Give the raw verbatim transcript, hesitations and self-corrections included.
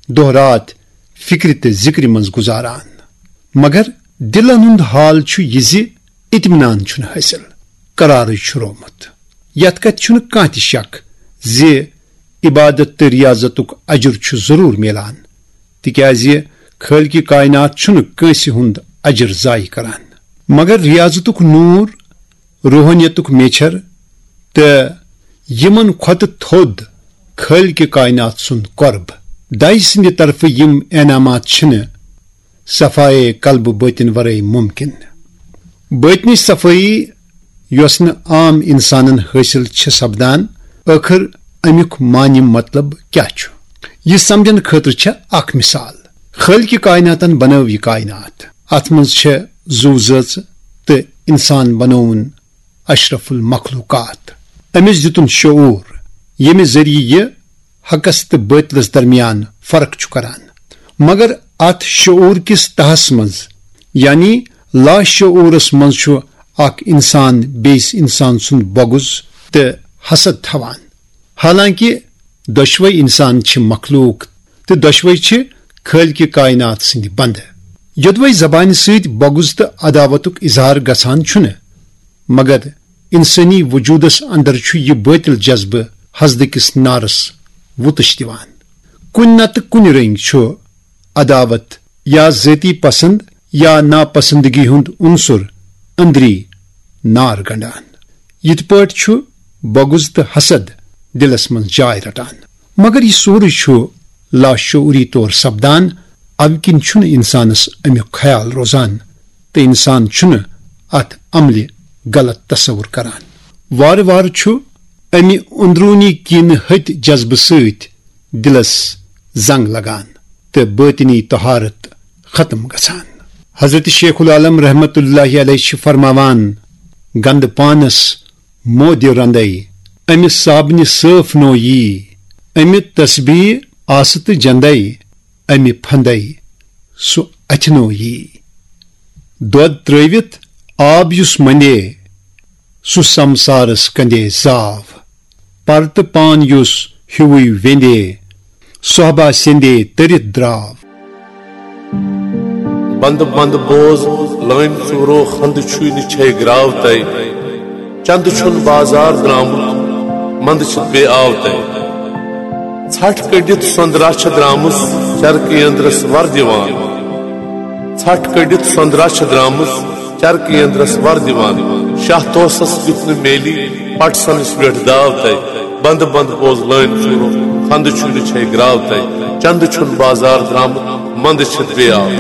دۄہ رات فکرِ تہٕ ذکرِ منٛز گُزاران۔ مگر دلن ہُنٛد حال چھُ یہِ زِ اطمینان چھُنہٕ حٲصِل، قرارٕے چھُ رومُت۔ یتھ کتھِ چھُنہٕ کانٛہہ تہِ شک زِ عبادت تہٕ ریاضتُک اجر چھُ ضروٗر میلان، تِکیازِ خٲلقِ کائنات چھُنہٕ کٲنٛسہِ ہُنٛد اجر ضایع کران۔ مگر ریاضتُک نور، روحانیتُک میچھر تہٕ یِمن کھۄتہٕ تھوٚد خٲلقِ کائنات سُنٛد قرب، دَے سٕنٛدِ طرفہٕ یِم انعامات چھِنہٕ صفائے قلب باطن ورٲے ممکن۔ باطنی صفٲیی یۄس نہٕ عام انسانن حٲصِل چھِ سپدان، ٲخر امیُک معنی مطلب کیٛاہ چھُ؟ یہِ سمجھن خٲطرٕ چھےٚ اکھ مثال۔ خٲلقِ کائناتن بنٲو یہِ کائنات۔ اتھ منٛز چھےٚ زُو زٲژٕ تہٕ انسان بنووُن اشرف المخلوقات۔ أمِس دِتُن شعور، ییٚمہِ ذٔریعہٕ یہِ حقس تہٕ باطلس درمیان فرق چھُ کران۔ مگر اتھ شعور کِس تہس منٛز، یعنی لاشعورس منٛز، چھُ اکھ انسان بیٚیِس انسان سُنٛد بغض تہٕ حسد تھاوان۔ حالانکہ دۄشوے انسان چھِ مخلوق تہٕ دۄشوے چھِ خٲلقِ کائنات سٕنٛدِ بندٕ۔ یوٚدوے زبانہِ سۭتۍ بغض تہٕ عداوتُک اظہار گژھان چھُنہٕ، مگر انسٲنی وجودس اندر چھُ یہِ باطل جذبہٕ حسدٕ کِس نارس وُتٕش دِوان۔ کُنہِ نتہٕ کُنہِ رٔنگۍ چھُ عداوت یا ذٲتی پسند یا ناپسندگی ہُنٛد عنصر أنٛدری نار گنڈان۔ یِتھ پٲٹھۍ چھُ بغض تہٕ حسد دِلس منٛز جاے رٹان۔ مگر یہِ سورُے چھُ لاشعوری طور سپدان، اَمہِ کِنۍ چھُنہٕ انسانس امیُک خیال روزان تہٕ انسان چھُنہٕ اتھ عملہِ غلط تصور کران۔ وارٕ وارٕ چھُ امہِ اندرونی کینہٕ ہٕتۍ جذبہٕ سۭتۍ دِلس زنگ لگان تہٕ باطنی طہارت ختم گژھان۔ حضرت شیخ العالم رحمت اللہ علیہ چھِ فرماوان، گندٕ پانس مودِ رندے، امہِ صابنہِ صٲف نو یی، امہِ تسبیح آسہٕ تہٕ جندے، امہِ پھندے سُہ اتھِ نو یی۔ دۄد ترٲوِتھ آب یُس مندے، سُہ سمسارس کندے زاو۔ پرتہٕ پان یُس ہیوٗوٕے ویندے، صحبہ سیندے تٔرِتھ دراو۔ بند بند بوز لٲنۍ ژوٗرو، خندٕ چھُے نہٕ چھے گراو تَے۔ چندٕ چھُن بازار درامُت، مندٕ چھِ بے آو تَے۔ ژھٹھ کٔڑِتھ سۄندرا چھِ درامٕژ، چرکہٕ یندرس ور دِوان۔ ژھٹھ کٔڑِتھ سۄندرا چھِ درامٕژ، چرکہٕ یندرس ور دِوان۔ شاہ توسس یُتھ نہٕ میلی، پٹ سنس ویٹھ داو تَے۔ بند بند بوز لٲنۍ ژوٗرو، خندٕ چھُے نہٕ چھے گراو تَے۔ چندٕ چھُن بازار درامُت، مندٕ چھِ بے آو۔